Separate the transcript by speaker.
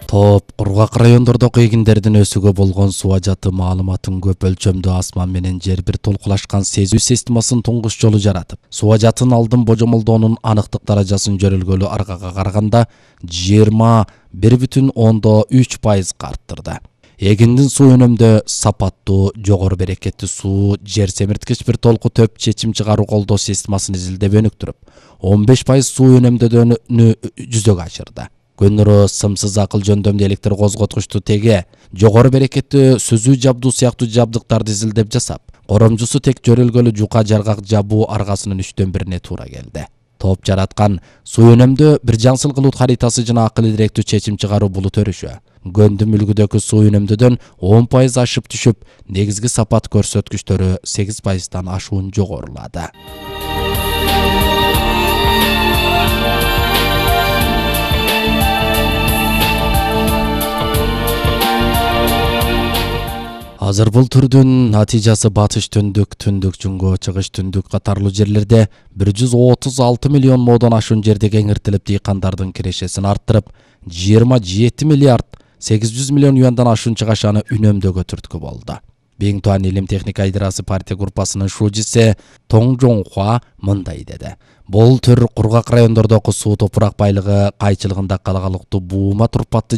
Speaker 1: Топ кургак райондордогу эгиндердин өсүүгө болгон суу ажаты маалыматын көп өлчөмдүү асман менен жер бир толкулашкан сезүү системасын туңгуч жолу жаратып, суу ажатын алдын божомолдоонун аныктык даражасын жөрөлгөлү аргага караганда 21,3% арттырды. Эгиндин суу өнөмдөө сапаттуу, жогору берекеттүү суу жер семирткич бир толку төп чечим чыгаруу колдоо системасын изилдеп өнүктүрүп, 15% суу өнөмдөөнү жүзөгө ашырды. Көндөрү сымсыз акыл жөндөмдүү электр козготкучту теге, жогору берекеттүү сүзүү жабдуу сыяктуу жабдыктарды изилдеп жасап, коромжусу тек жөрөлгөлү жука жаргак жабуу аргасынын 3/1 туура келди. Топ жараткан суу өнөмдөө бир жаңсыл кылут харитасы жана акыл идиректүү чечим чыгаруу булут өрүшү. Гөндүм үлгүдөгү суу өнөмдөөдөн 10% ашып түшүп, негизги сапат көрсөткүчтөрү 8%тан ашуун жогорулады. Азыр бул түрдүн натыйжасы батыш түндүк, түндүк жунгу, чыгыш түндүк катарлуу жерлерде 136 миллион модон ашуун жерде кеңиртилип, дыйкандардын кирешесин арттырып, 27 миллиард 800 миллион юандан ашуун чыгашаны үнөмдөөгө түрткү болду. Бең Туан илим техника идеясы партия группасынын шужиси Тоң Жоңхуа мындай деди. Бул төр кургак райондордогу суу топурак байлыгы кайчылыгында калагалыктуу буума турпатты